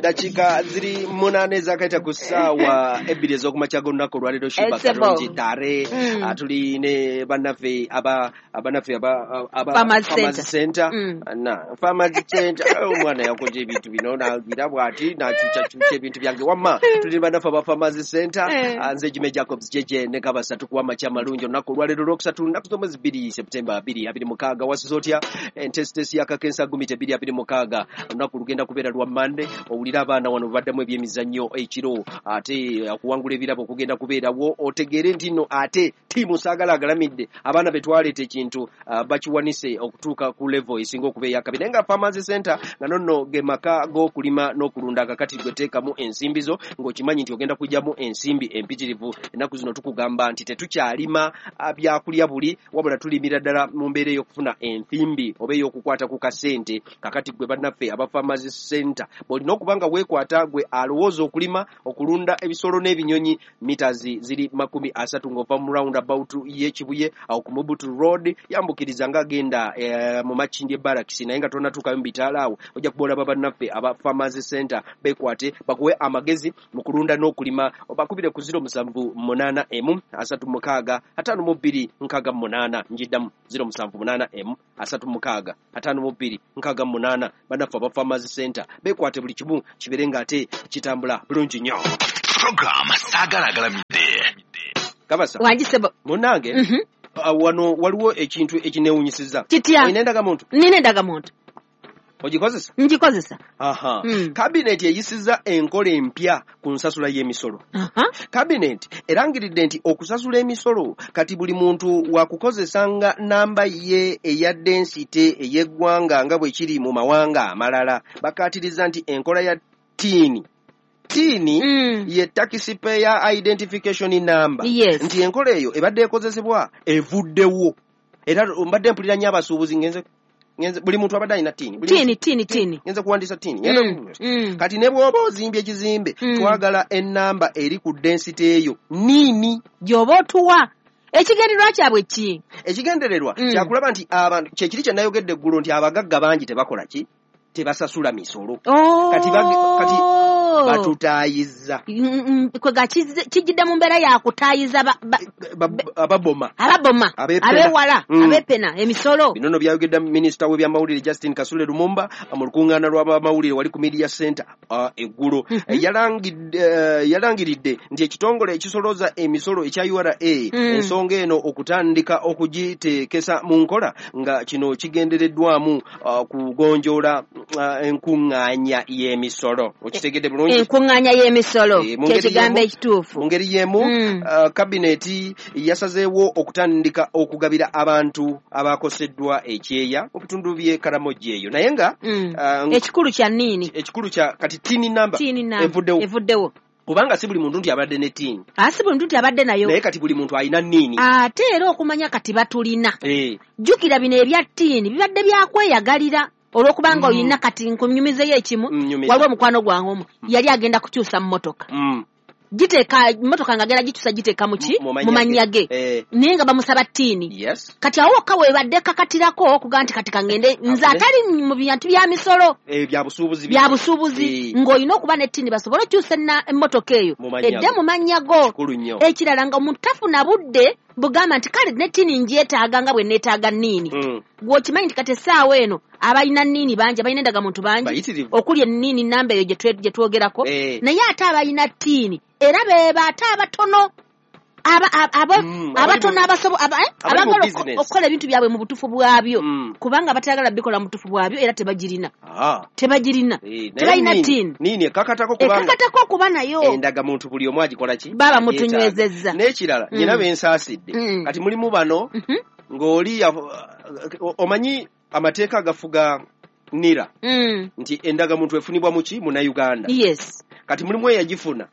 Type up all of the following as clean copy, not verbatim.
Dakiika ziri 8 ezakaita ku ssaawa 2 ez'okumakya g'olunaku olwaleero. Shiba Karungi Tare, tuli ne bannaffe aba Farmers Center. Na Farmers Center, omwana yakoze ebintu bino n'agira bw'ati n'akyukakyuka ebintu byange. Wamma tuli ne bannaffe aba Farmers Center. Nze Jimmy Jacobs JJ ne Kabasa, tukuwa amakya amalungi olunaku olwaleero olwokusatu, lunaku z'omwezi 2 September 2026. Wasiza otya entesitesi ya Kakensa Gumite 2026? Olunaku lugenda kubeera lwa Mande. Owulira abaana wano baddemu ebyemizannyo ekiro, ate okuwangula ebirabo okugenda kubeerawo. Otegeere nti nno ate ttiimu Saagala Agalamidde, abaana be twaleeta ekintu bakiwanise okutuuka ku level esinga okuba eyakabi. Naye nga Farmers Center nga nonno ge maka g'okulima n'okulunda. Kakati gwe teekamu ensimbi zo ng'okimanyi nti ogenda kugyamu ensimbi empitirivu. Ennaku zino tukugamba nti tetukyalima byakulya buli, wabula tulimira ddala mu mbeera ey'okufuna ensimbi oba ey'okukwata ku kasente. Kakati gwe bannaffe aba Farmers Center bw'olina okuba nga weekwata, gwe alowooza okulima, okulunda ebisolo n'ebinyonyi, meters ziri 30 ng'ova mu roundabout y'Ekibuye awo ku Mobutu Road, yambukiriza ng'agenda mu Makindye Barracks, naye nga tonnatuukayo mu bitaala awo ojja kuba olaba bannaffe aba Farmers Center. Beekwate bakuwe amagezi mu kulunda n'okulima. Bakubire ku 0781 36 52 68. Njiddamu, 0781 36 52 68. Bannaffe aba Farmers Center beekwate, buli kimu kibeere ng'ate kitambula bulungi nnyo. Program Saagala Agalamidde. Kabasa. Wangi ssebo. Munnange, wano waliwo ekintu ekinewunyisiza. Kitya? Olina endagamuntu? Nina endagamuntu. Ogikozesa? Ngikozesa. Aha. Kabineti eyisizza enkola empya ku nsasula y'emisolo. Kabineti erangiridde nti okusasula emisolo kati buli muntu wakukozesanga namba ye eya density ey'eggwanga nga bwe kiri mu mawanga amalala. Bakaatiriza nti enkola ya TIN, TIN ye taxpayer identification number, nti enkola eyo ebadde ekozesebwa evuddewo. Era mbadde mpulira nnyo abasuubuzi, ngenze buli muntu abadde alina TIN, TIN TIN TIN, ngenze kuwandiisa TIN. Kati ne bw'oba ozimbye ekizimbe, twagala ennamba eri ku density eyo niini gy'oba otuwa. Ekigendererwa kyabwe ki? Ekigendererwa kyakulaba nti abantu, kyekiri kye nayogedde eggulo nti abagagga bangi tebakola ki, tebasasula misolo. Kati batutaayiza. Kwega kijjidde mu mbeera ya kutaayiza ababoma, ababoma, abewala, abepena emisolo. Bino nno byayogedde minisita w'ebyamawulire Justin Kasule Lumumba mu lukuŋŋaana lw'abamawulire wali ku Media Center eggulo. Yalangiridde nti ekitongole ekisolooza emisolo ekya URA ensonga eno okutandika okugiteekesa mu nkola, nga kino kigendereddwamu kugonjoola enkuŋŋaanya y'emisolo. Okitegedde bulungi? Enkuŋŋaanya y'emisolo kyekigambo ekituufu. Mu ngeri y'emu, kabineti yasazeewo okutandika okugabira abantu abakoseddwa ekyeya mu bitundu by'e Karamoja eyo, naye nga ekikulu kya nniini, ekikulu kya kati TIN number evuddewo, evuddewo, kubanga si buli muntu nti abadde ne TIN. Si buli muntu nti abadde nayo, naye kati buli muntu alina nniini. Ate era okumanya kati batulina. Jjukira bino ebya TIN bibadde byakweyagalira olw'okubanga olina. Kati nkunyumizeyo ekimu. Waliwo omukwano gwange omu yali agenda kukyusa mmotoka, giteeka mmotoka nga agenda gikyusa, giteeka muki, mu mannya ge, naye nga bamusaba TIN. Kati awo wokka webadde kakatirako okugaa nti kati kangende nze atali mu bintu bya misolo, bya busuubuzi, ng'olina okuba ne TIN basobole okyusa emmotoka eyo edde mu mannya go. Ekirala nga omuntu tafuna budde bugamba nti kale ne TIN ngyetaaga nga bwe neetaaga nniini. Gw'okimanyi nti kati essaawa eno abalina nniini bangi, abalina endagamuntu bangi okuli enniini namba eyo gye twogerako, naye ate abalina TIN era beeba ate abatono, abatono abagala okukola ebintu byabwe mu butuufu bwabyo, kubanga batayagala bikola mu butuufu bwabyo era tebagirina, tebagirina, tebalina TIN. Nini ekakatako, kubanga okuba nayo endagamuntu buli omu agikola ki, baba mutunywezezza. N'ekirala nyina bensaasidde, kati mulimu bano ng'oli omanyi amateeka agafuga NIRA nti endagamuntu efunibwa muki, Munnayuganda. Kati mulimu eyagifuna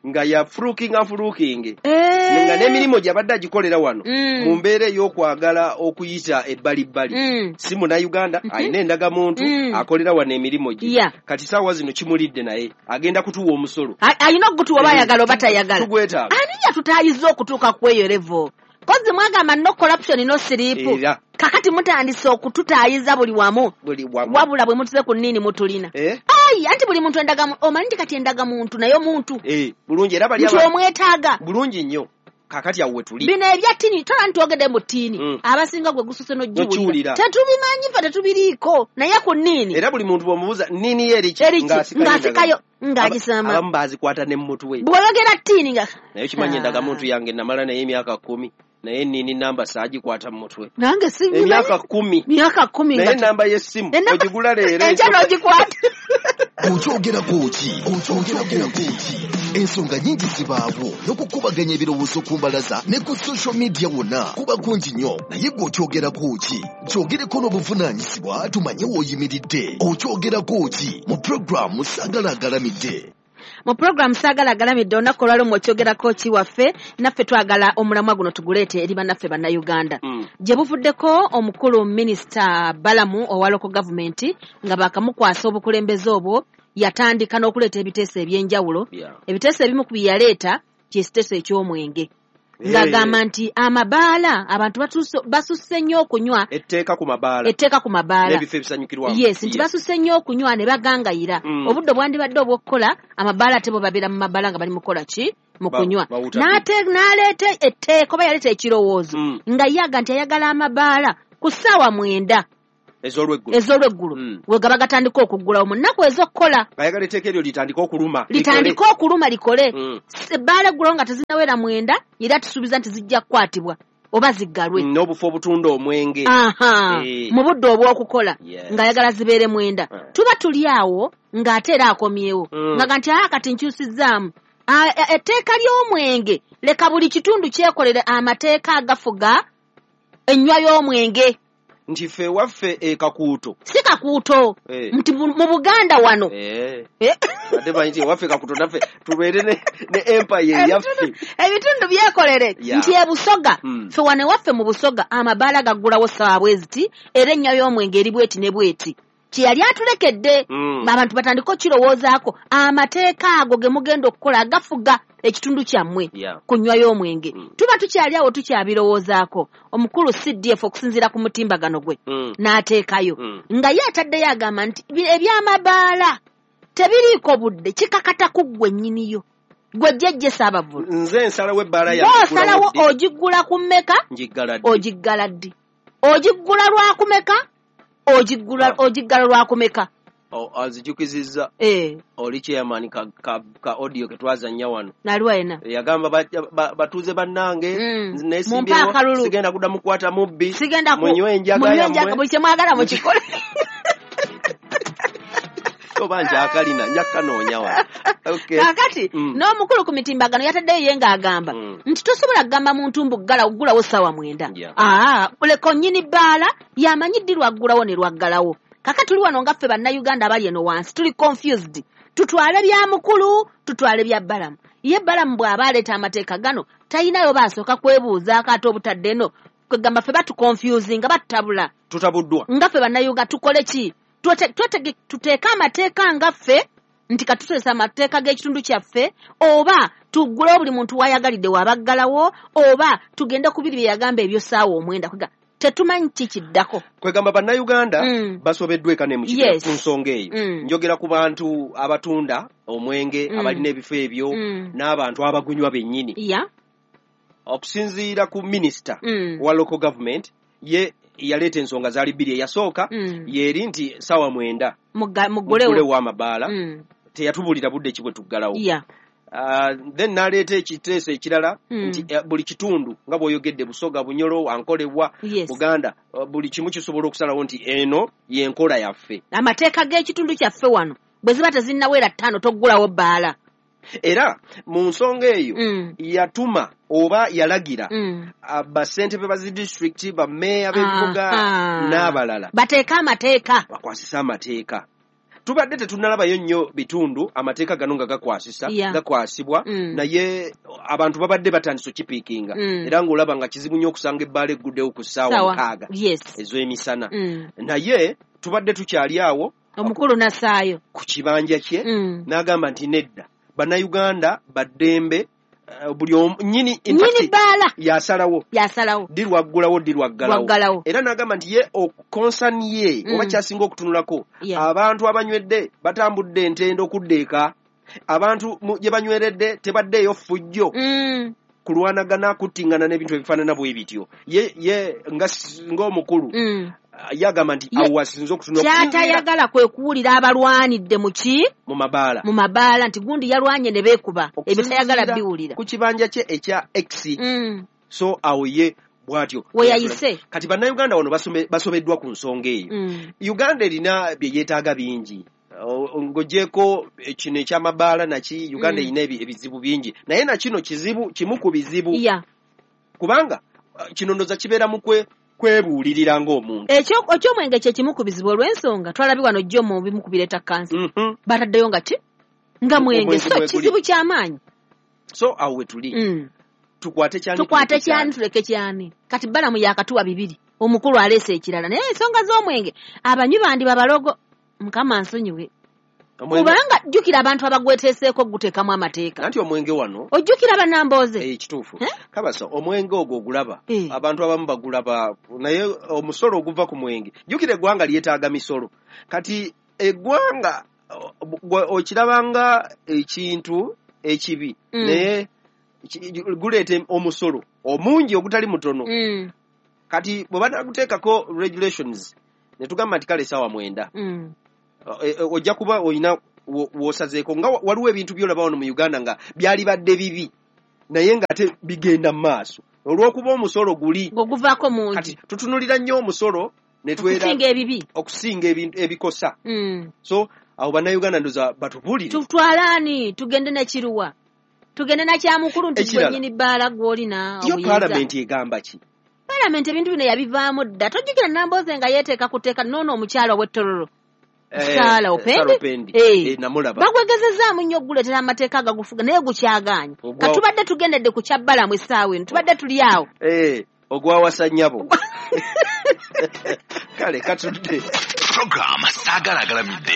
nga ya fulukinga fulukinge, nga n'emirimu gy'abadde agikolera wano mu mbeera ey'okwagala okuyita ebbalibbali, si Munnayuganda, alina endagamuntu, akolera wano emirimu gye. Kati saawa zino kimulidde, naye agenda kutuwa omusolo. Alina okugutuwa oba ayagala oba tayagala. Tugwetaaga. Ani yatutaayiza okutuuka ku eyo level? Kozi mwagamba no corruption no sleep. Kakati mutandise okututaayiza buli wamu. Wabula bwe mutuze ku nniini mutulina. Ai, anti buli muntu endagamuntu, omanyi nti kati endagamuntu naye omuntu bulungi era bali nti omwetaaga bulungi nnyo. Kakati awo wetuli bino ebya ttini, tola ntwogedde mu ttini, abasinga gwe gususe n'ogiwulira, tetubimanyi ffe, tetubiriiko. Naye ku nniini era buli muntu bw'omubuuza nniini ye eriki, ng'asikayo ng'agisama, abamu baazikwata ne mutwe. Bw'oyogera ttini nga naye kimanyi endagamuntu yange namala naye emyaka 10, naye nniini namba saagikwata mu mutwe. Nange sibimanyi. Emyaka 10. Myaka 10 naye namba y'essimu ogigula leero enkya n'ogikwata. Okyogerako ki? Okyogerako ki? Ensonga nnyingi zibaawo n'okukubaganya ebirowoozo ku mbalaza ne ku social media wonna kuba kungi nnyo, naye gwe okyogerako ki? Kyogereko n'obuvunaanyizibwa tumanye w'oyimiridde. Okyogerako ki? Mu pulogulaamu Saagala Agalamidde. Mu pulogulaamu Saagala Agalamidde olunaku olwaleero mw'okyogerako ki waffe, naffe twagala omulamwa guno tuguleete eri bannaffe Bannayuganda. Gye buvuddeko omukulu Minisita Balamu owa local government nga baakamukwasa obukulembeze obwo, yatandika n'okuleeta ebiteeso eby'enjawulo. Ebiteeso ebimu ku bye yaleeta kyekiteeso eky'omwenge, ng'agamba nti amabaala abantu basusse nnyo okunywa, etteeka ku mabaala, etteeka ku mabaala n'ebifo ebisanyukirwamu. Yes, nti basusse nnyo okunywa ne bagangayira. Obudde bwandibadde obw'okukola amabaala ate bo babeera mu mabaala nga bali mu kukola ki? Mu kunywa. N'aleeta etteeka oba yaleeta ekirowoozo nga ye aga nti ayagala amabaala ku ssaawa 9 ez'olweggulo we gaba gatandika okuggulawo mu nnaku ez'okukola. Ayagala etteeka eryo litandike okuluma, litandike okuluma likole. Ebbaala eggulawo nga tezinnawera 9, era tusuubiza nti zijja kukwatibwa oba ziggalwe. N'obufo obutunda omwenge mu budde obw'okukola ng'ayagala zibeere 9. Tuba tuli awo ng'ate era akomyewo nga nti kati nkyusizzaamu etteeka ly'omwenge, leka buli kitundu kyekolere amateeka agafuga ennywa y'omwenge. Nti ffe waffe Kakuuto, si Kakuuto, nti mu Buganda wano ate manyi nti ewaffe Kakuuto naffe tubeere ne empire eyaffe, ebitundu byekolere. Nti e Busoga ffe wano ewaffe mu Busoga amabaala gaggulawo ssaawa bweziti, era ennywa y'omwenge eri bweti ne bweti. Kye yali atulekedde abantu batandike okukirowoozaako, amateeka ago ge mugenda okukola agafuga ekitundu kyammwe ku nnywa y'omwenge. Tuba tukyali awo tukyabirowoozaako, omukulu CDF okusinziira ku mutimbagano gwe n'ateekayo nga ye ataddeyo agamba nti ebyamabaala tebiriiko budde, kikakata ku ggwe nnyiniyo, gwe jjajja Ssaabavvulu. Nze nsalawo ebbaala yange, osalawo ogiggula ku mmeka, ogiggala ddi, ogiggula lwakumeka, ogiggala lwakumeka. Azijukizizza oli chairman ka audio ke twazannya wano naliwa yena yagamba batuuze bannange nesimbyewo, sigenda kudda mukwata mubbi, munywe enjaga yammwe, buli kye mwagala mukikole. Oba njakalina nja kukanoonya wano. Kaakati n'omukulu ku mitimbagano yataddeyo ye ng'agamba nti tosobola kugamba muntu mbu ggulawo ssaawa 9. Leka nnyini bbaala yamanyi ddi lwaggulawo ne lwaggalawo. Kaka tuli wano nga ffe Bannayuganda abali eno wansi tuli confused, tutwale bya mukulu, tutwale bya Balamu. Ye Balamu bw'aba aleeta amateeka gano talinayo baasooka kwebuuzaako ate obutadde eno kwegamba ffe batuconfusinga, batutabula, tutabuddwa nga ffe Bannayuganda. Tukole ki? Tuteeke amateeka nga ffe nti katuteesa amateeka g'ekitundu kyaffe, oba tuggulewo buli muntu w'ayagalidde waabaggalawo, oba tugende ku biri bye yagamba ebyo ssaawa 9. Tetumanyi ki kiddako. Kwegamba Bannayuganda basobeddwa eka ne mu kibira ku nsonga eyo. Njogera ku bantu abatunda omwenge, abalina ebifo ebyo, n'abantu abagunywa bennyini. Okusinziira ku minisita wa local government, ye yaleeta ensonga zaali 2. Eyasooka yeri nti ssaawa 9 muggulewo amabaala, teyatubuulira budde ki bwe tuggalawo. Then n'aleeta ekiteeso ekirala nti buli kitundu nga bw'oyogedde Busoga, Bunyoro, Ankolebwa, Buganda, buli kimu kisobola okusalawo nti eno y'enkola yaffe, amateeka g'ekitundu kyaffe wano bwe ziba tezinnawera 5 toggulawo bbaala. Era mu nsonga eyo yatuma oba yalagira bassentebe ba zi disitulikiti, bammeeya b'ebibuga n'abalala bateeke amateeka, bakwasise amateeka. Tubadde tetunnalabayo nnyo bitundu amateeka gano nga gakwasisa, gakwasibwa, naye abantu babadde batandise okipiikinga, era ng'olaba nga kizibu nnyo okusanga ebbaala egguddewo ku ssaawa 6 ez'emisana. Naye tubadde tukyali awo, omukulu n'assaayo ku kibanja kye n'agamba nti nedda, Bannayuganda baddembe Buli nyini bbaala yasalawo ddi lwaggulawo ddi lwaggalawo. Era n'agamba nti ye concern ye oba kyasinga okutunulako abantu abanywedde batambudde entendo okudda eka, abantu gye banyweredde tebaddeeyo ffujjo kulwanagana kuttingana n'ebintu ebifaanana bwe bityo. Ye ng'omukulu yagamba nti awo wasinze okutunula. Kyatayagala kwe kuwulira abalwanidde mu ki? Mu mabaala. Mu mabaala nti gundi yalwanye ne beekuba. Ebyo tayagala biwulira. Ku kibanja kye ekya X. So awo ye bw'atyo. We yayise. Kati bannayuganda wano basobeddwa ku nsonga eyo. Uganda erina bye yeetaaga bingi. Ng'ogyeko kino eky'amabaala naki Uganda erina ebizibu bingi. Naye na kino kizibu kimu ku bizibu. Kubanga kino ndoza kibeera mu kwebuulirira ng'omuntu. Eky'omwenge kye kimu ku bizibu olw'ensonga twalabye wano jjo mu bimu ku bireeta kansa. Bataddeyo nga ki? Nga mwenge. So kizibu ky'amaanyi. So awo we tuli. Tukwate kyani tuleke kyani. Kati Balamu yakatuwa bibiri. Omukulu aleese ekirala. Naye ensonga z'omwenge abanywi bandi babalogo. Mukama nsonyiwe. Kubanga jjukira abantu abagweteeseeko guteekamu amateeka. Anti omwenge wano ojjukira bannambooze. Kituufu. Kabasa omwenge ogwo ogulaba abantu abamu bagulaba naye omusolo oguva ku mwenge. Jjukira eggwanga lyetaaga misolo. Kati eggwanga okirabanga ekintu ekibi naye guleeta omusolo omungi ogutali mutono. Kati bwe banaguteekako regulations ne tugamba nti kale essaawa 9. Ojja kuba olina w'osazeeko nga waliwo ebintu by'olaba wano mu Uganda nga byalibadde bibi naye nga ate bigenda mu maaso olw'okuba omusolo guli oguvaako mungi. Kati tutunulira nnyo omusolo ne okusinga ebibi, okusinga ebintu ebikosa. So awo bannayuganda ndoza batubuulire tutwalaani tugende n'ekiruwa tugende nakyamukulu nti gwe nnyini bbaala gw'olina. Yo paalamenti egamba ki? Paalamenti ebintu bino yabivaamu dda. Tojjukira Nambooze nga yeeteeka kuteeka noono omukyala ow'ettororo Sarah Opendi. Namulaba. Bagwegezezaamu nnyo okuguleetera amateeka agagufuga naye gukyagaanye. Katubadde tugendedde ku kya Balamu essaawa eno tubadde tuli awo. Ogwawasa nnyabo. Kale katudde. Program Saagala Agalamidde.